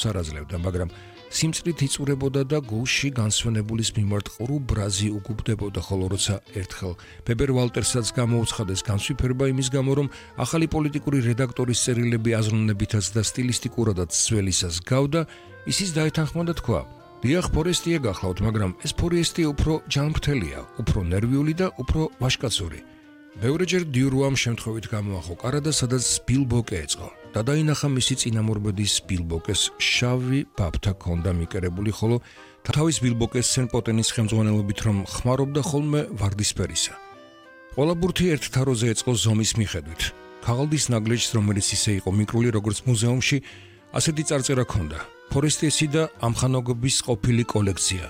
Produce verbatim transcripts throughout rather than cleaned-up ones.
სარაზლევდა, მაგრამ სიმწრით იწურებოდა და გულში განსვენებულის მიმართ ყრუ ბრაზი უგუბდებოდა, ხოლო როცა ერთხელ ბებერ ვალტერსაც გამოუცხადეს განსვიფერება იმის გამო, რომ ახალი პოლიტიკური რედაქტორის წერილები აზროვნებითაც და სტილისტიკურადაც ძველისას გავდა, ისიც დაეთანხმა და თქვა: დიახ, ფორესტია გახლავთ, მაგრამ ეს ფორესტი უფრო ჯანმრთელია, უფრო ნერვიული და უფრო ვაჟკაცური. ბევრჯერ დიურუამ შემთხვევით გამოახო კარადა, სადაც ბილბოკე ეწყო და დაინახა მისი წინამორბედის ბილბოკეს შავი ბაბთა ქონდა მიკერებული, ხოლო თავის ბილბოკეს სენპოტენის ხელმძღვანელობით რომ ხმარობდა ხოლმე ვარდისფერისა. ყველა ბურთი ერთ თაროზე ეწყო ზომის მიხედვით. ქაღალდის ნაგლეჯს, რომელიც ისე იყო მიკრული როგორც მუზეუმში, ასეთი წარწერა ქონდა: ფორესტესი და ამხანაგობის ყოფილი კოლექცია.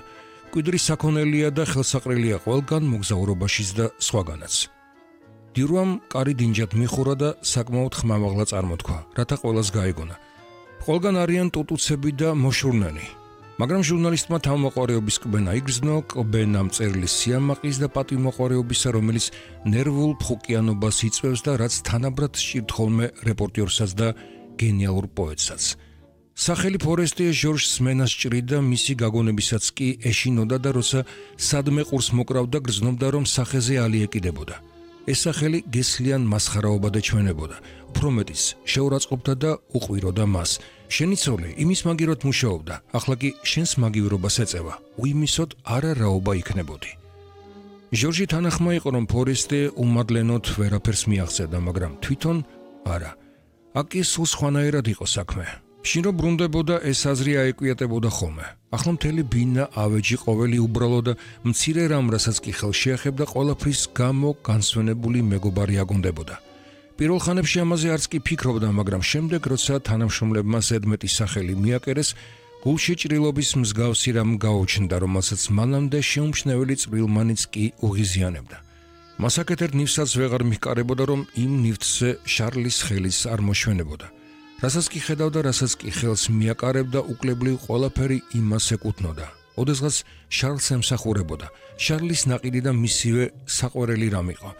კვიდრის საქონელია და ხელსაყრელია ყველგან მოგზაურობაშიც და სხვაგანაც. დიურუამ კარი დინჯად მიხურა და საკმაოდ ხმამაღლა წარმოთქვა, რათა ყველას გაეგონა. ყველგან არიან ტუტუცები და მოშურნენი, მაგრამ ჟურნალისტმა თავმოყარეობის კბენა იგრძნო, კბენა მწერლის სიამაყის და პატივმოყარეობისა, რომელიც ნერვულ ფხუკიანობას იწვევს და რაც თანაბრად სჭირთ ხოლმე რეპორტიორსაც და გენიალურ პოეტსაც. სახელი ფორესტია ჟორჟს მენას ჭრიდა, მისი გაგონებისაც კი ეშინოდა და როცა სადმე ყურს მოკრავდა, გრძნობდა, რომ სახეზე ალი ეკიდებოდა. ეს სახელი გესლიან მასხარაობად ეჩვენებოდა, უფრო მეტიც შეურაცხყოფდა და უყვიროდა მას. შენი ცოლი იმის მაგივრად მუშაობდა, ახლა კი შენს მაგივრობას ეწევა, უიმისოდ არა რაობა იქნებოდი. ჟორჟი თანახმა იყო, რომ ფორესტე უმადლენოდ ვერაფერს მიაღწევდა, მაგრამ თვითონ არა. აქ კი სულ სხვანაირად იყო საქმე. შინ რო ბრუნდებოდა, ეს აზრი აეკვიატებოდა ხოლმე. ახლა მთელი ბინა, ავეჯი, ყოველი უბრალო და მცირე რამ, რასაც კი ხელში ეხებდა, ყველაფრის გამო განსვენებული მეგობარი აგონდებოდა. პირველ ხანებში ამაზე არც კი ფიქრობდა, მაგრამ შემდეგ, როცა თანამშრომლებმა ზედმეტი სახელი მიაკერეს, გულში ჭრილობის მსგავსი რამ გაუჩნდა, რომელსაც მანამდე შეუმჩნეველი წვრილმანიც კი უღიზიანებდა. მას აკეთებ ნივსაც ვეღარ მიჰკარებოდა, რომ იმ ნივთზე შარლის ხელის არ მოშვენებოდა. რასაც კი ხედავდა, რასაც კი ხელს მიაკარებდა, უკლებლივ ყველაფერი იმას ეკუთვნოდა. ოდესღაც შარლს ემსახურებოდა. შარლის ნაყიდი და მისივე საყვარელი რამ იყო.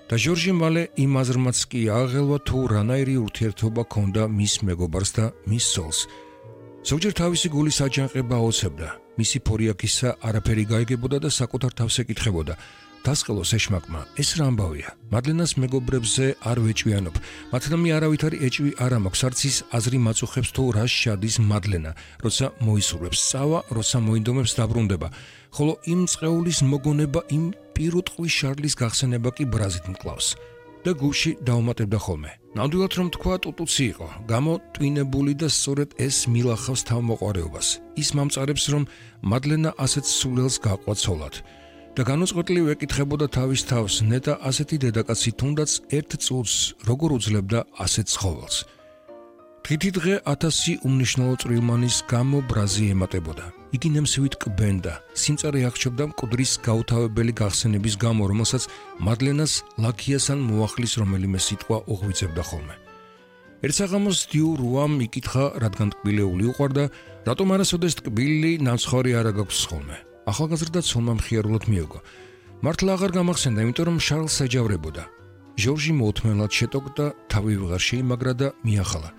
და ჟორჟი მალე იმ აზრმაც კი აღელვა, თუ რანაირი ურთიერთობა ჰქონდა მის მეგობარს და მის ცოლს. ზოგჯერ თავისი გულის აჯანყება აოცებდა. მისი ფორიაქისა არაფერი გაიგებოდა და საკუთარ თავს ეკითხებოდა: დასყელოს ეშმაკმა, ეს რა ამბავია? მადლენას მეგობრებზე არ ვეჭვიანობ. მათნამი არავითარი ეჭვი არ მაქვს, არც ის აზრი მაწუხებს, თუ რა შედის მადლენა, როცა მოისურვებს სწავა, როცა მოინდომებს დაბრუნდება, ხოლო იმ წყეულის მოგონება, იმ პირუტყვის შარლის გახსენება კი ბრაზით მკლავს და გულში დაუმატებდა ხოლმე. ნამდვილად რომ თქვა, ტუტუცი იყო, გამოტვინებული და სწორედ ეს მილახავს თავმოყარეობას. ის მამწარებს, რომ მადლენა ასეთ სულელს გაყვა ცოლად. და განუწყვეტლივ ეკითხებოდა თავის თავს, ნეტა ასეთი დედაკაცი თუნდაც ერთ წუთს როგორ უძლებდა ასეთ ცხოველს. დღითი დღე ათასი უმნიშვნელო წვრილმანის გამო ბრაზი ემატებოდა. იგი ნემსივით კბენდა, სიმწარე აღჭობდა მკვდრის გაუთავებელი გახსენების გამო, რომელსაც მადლენას ლაქიას ან მოახლის რომელიმე სიტყვა უღვიძებდა ხოლმე. ერთ საღამოს დიურუამ იკითხა, რადგან ტკბილეული უყვარდა, რატომ არასოდეს ტკბილი ნამცხვარი არა გაქვს ხოლმე. ახალგაზრდა ცოლმა მხიარულად მიოგო. მართლა აღარ გამახსენდა, იმიტომ რომ შარლს ეჯავრებოდა. ჟორჟი მოუთმენლად შეტოკდა, თავი ვეღარ შეიმაგრა და მიახალა.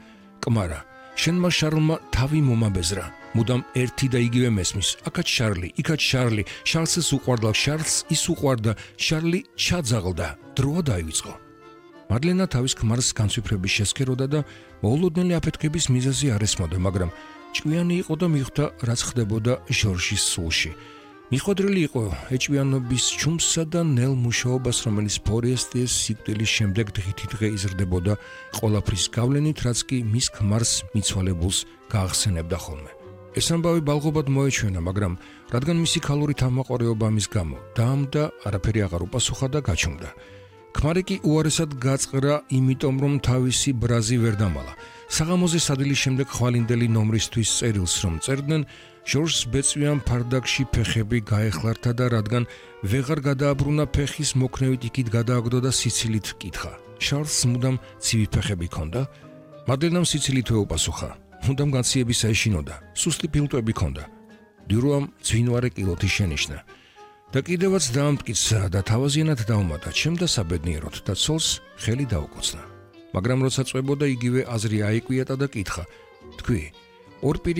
კმარა, შენმა შარლმა თავი მომაბეზრა. მუდამ ერთი და იგივე მესმის. აქაც შარლი, იქაც შარლი, შარლს ის უყვარდა, შარლს ის უყვარდა, შარლი ჩაძაღლდა. დროა დაივიწყო. მადლენა თავის ქმარს განსვიფრების შესქეროდა და მოულოდნელი აფეთქების მიზეზი არ ესმოდა, მაგრამ ჭკვიანი იყო და მიხვდა, რაც ხდებოდა ჟორჟის სულში. მიხვედრილი იყო ეჭვიანობის ჩუმსსა და ნელ მუშაობას, რომელიც ფორესტეს სიკვდილის შემდეგ დღითი დღე იზრდებოდა ყველაფრის გავლენით, რაც კი მის ქმარს მიცვალებულს გაახსენებდა ხოლმე. ეს ამბავი ბალღობად მოეჩვენა, მაგრამ რადგან მისი ქალური თავმოყარეობა ამის გამო დაამდა, არაფერი აღარ უპასუხა და გაჩუმდა. ქმარი კი უარესად გაწყრა, იმიტომ რომ თავისი ბრაზი ვერ დამალა. საღამოზე სადილის შემდეგ ხვალინდელი ნომრისთვის წერილს რომ წერდნენ, ჟორჟს ბეწვიან ფარდაკში ფეხები გაეხლართა და რადგან ვეღარ გადააბრუნა ფეხის მოქნევით იქით გადააგდო და სიცილით კითხა. შარლს მუდამ ცივი ფეხები ჰქონდა? მადლენამ სიცილით ეუპასუხა. მუდამ განციებისა ეშინოდა. სუსტი ფილტვები ჰქონდა. დიურუამ ძვინვარე კილოთი შენიშნა. და კიდევაც დაამტკიცა და თავაზიანად დაუმატა, ჩემ და საბედნიეროდ და ცოლს ხელი დაუკოცნა. მაგრამ როცა წვებოდა, იგივე აზრი აიკვიატა და კითხა. თქვი, ორ პირი